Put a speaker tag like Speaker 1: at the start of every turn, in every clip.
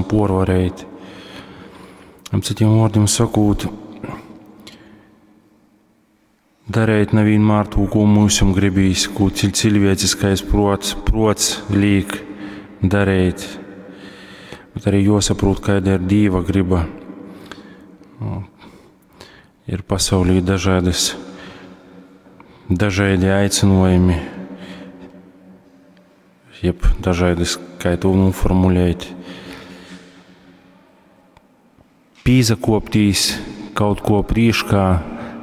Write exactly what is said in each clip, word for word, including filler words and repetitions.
Speaker 1: varam puorvarēt. Cytim vuordim sakūt, dareit na vīnmār tū, kū myusim gribīs, kū ciļvieciskais pruots, pruots līk dareit, bet arī juosaprūt, kaida ir Dīva griba. Nu, ir pasaulī dažādas, dažādi aicinojumi, jeb dažādas, kā to noformulēt, pīzakoptīs kaut ko prīškā,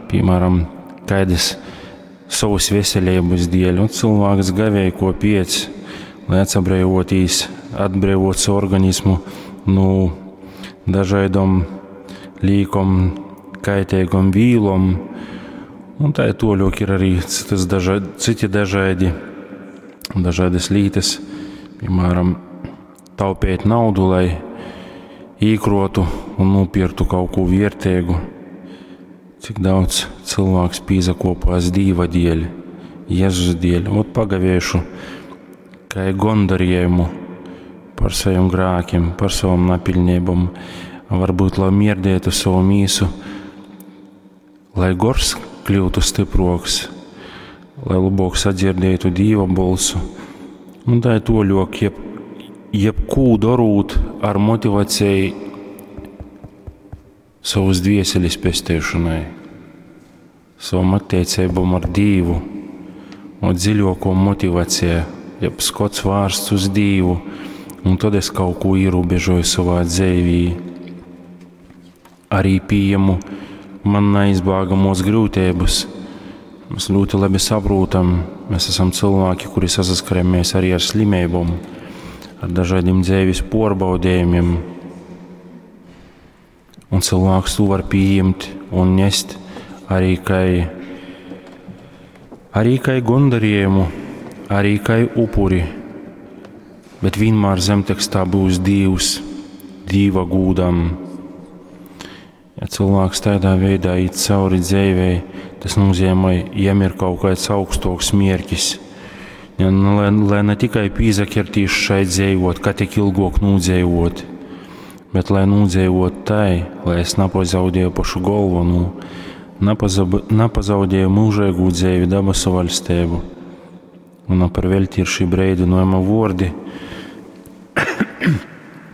Speaker 1: piemēram, kādas savas veselības dēļ, un cilvēks gavēja ko piec, lai atsabrēvotīs, atbrīvot savu organismu no dažādom līkom, kaitīgom vīlom. Un tā ir toļok ir arī citas daža, citi dažādi, dažādas lītas, piemēram, taupēt naudu, lai īkrotu un nopirktu kaut ko vērtīgu. Cik daudz cilvēks pīzakopās Dīva dēļ, Jēzus dēļ. Ot pagavēšu, kā gondarījumu par saviem grēkiem, par savam napilnībām, varbūt, lai mierdētu savu mīsu, lai gors kļūtu stiproks, lai labāk sadzirdētu Dīva bolsu. Un tā ir toļok, jeb, jebkū darūt ar motivāciju savas dvieselis pesteišanai, savam attiecībām ar Dīvu, un dziļāko motivācija, jeb skots vērsts uz Dīvu, un tad es kaut ko ierobežoju savā dzīvī. Arī pieņemu man neizbēgamos grūtības. Mēs ļoti labi saprotam, mēs esam cilvēki, kuri sasaskaramies arī ar slimībām, ar dažādiem dzīves pārbaudījumiem. Un cilvēks to var pieņemt un nest arī kā, arī kā gondarījumu, arī kā upuri. Bet vienmēr zemtekstā būs Dievs, Dieva gūdam. Ja cilvēks tādā veidā iet cauri dzīvei, tas nozīmē, jam ir kaut kāds augstāks mērķis. Ja, nu, lai, lai ne tikai pīzakertīs šai dzīvot, ka tik ilgāk nūdzīvot, bet lai nūdzīvot tai, lai es nepazaudēju pašu galveno, napazab, nepazaudēju mūžīgu dzīvi dabasu valstību. Un par velti ir šī breidinojuma vordi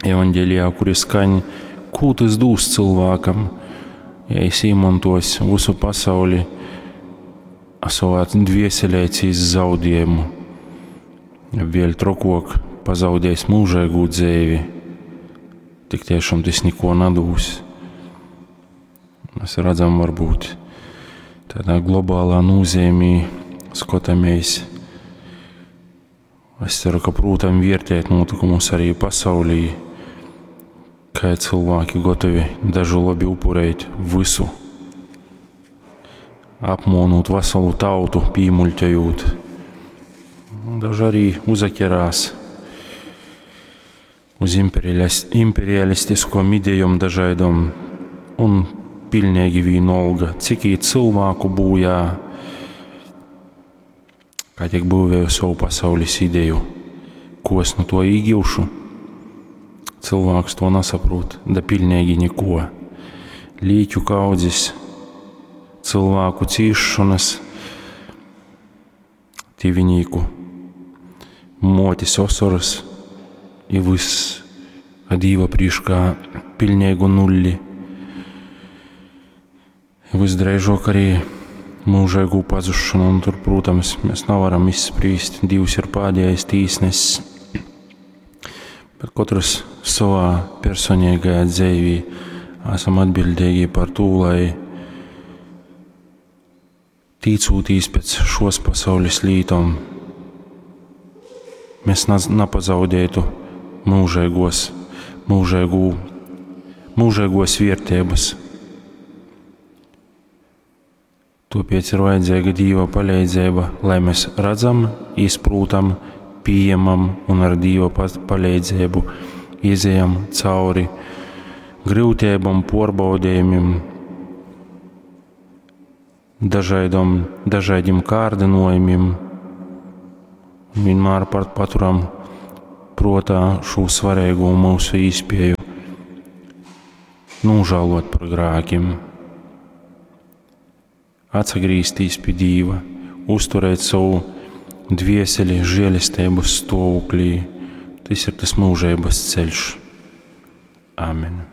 Speaker 1: evaņģēlijā, kuri skaņ, ko tas dūs cilvēkam, ja es īmontos visu pasauli, a savā dvieselē cīs zaudējumu, vēl trokok pazaudējis mūžīgu dzīvi, tik tiešām tas neko nedūs. Mēs redzam, varbūt tādā globālā nozīmī skatāmies. Es ceru, ka prūtam vērtēt notikumus arī pasaulī, kā cilvēki gatavi dažu labi upurēt visu, apmonot veselu tautu, pīmuļķojot. Daži arī uzaķerās uz imperialistiskom idejom dažādom un pilnīgi vienalga, cik īt cilvēku būjā, kā tiek būvēju savu pasaules ideju, ko es no to īgivšu. Cilvēks to nesaprot, da pilnīgi neko. Līķu kaudzes, cilvēku cīšanas, tīvinīku, motis osoras, i viss, a Dīva prīškā pilnīgu nulli. Visdrīzāk arī mūžīgu pazušanu, un tur, protams, mēs nevaram izsprīst. Dievs ir pēdējais tīsnesis. Bet katrs savā personīgajā dzīvī esam atbildīgi par to, lai tīcūtīs pēc šos pasaules lītom, mēs nepazaudētu mūžīgos, mūžīgū, mūžīgos vērtības. Tāpēc ir vajadzīga Dieva palīdzība, lai mēs redzam, izprūtam, pieņemam un ar Dieva palīdzību izejam cauri grūtībām, pārbaudījumiem, dažādom, dažādiem kārdinājumiem. Vienmēr paturam prātā šo svarīgo mūsu īspēju Nūžālot par grākim, atsagrīztīs pi Dīva, uzturēt savu dvieseli žēlesteibys stuovuklī. Tys ir tas mūžeibys ceļš. Amen.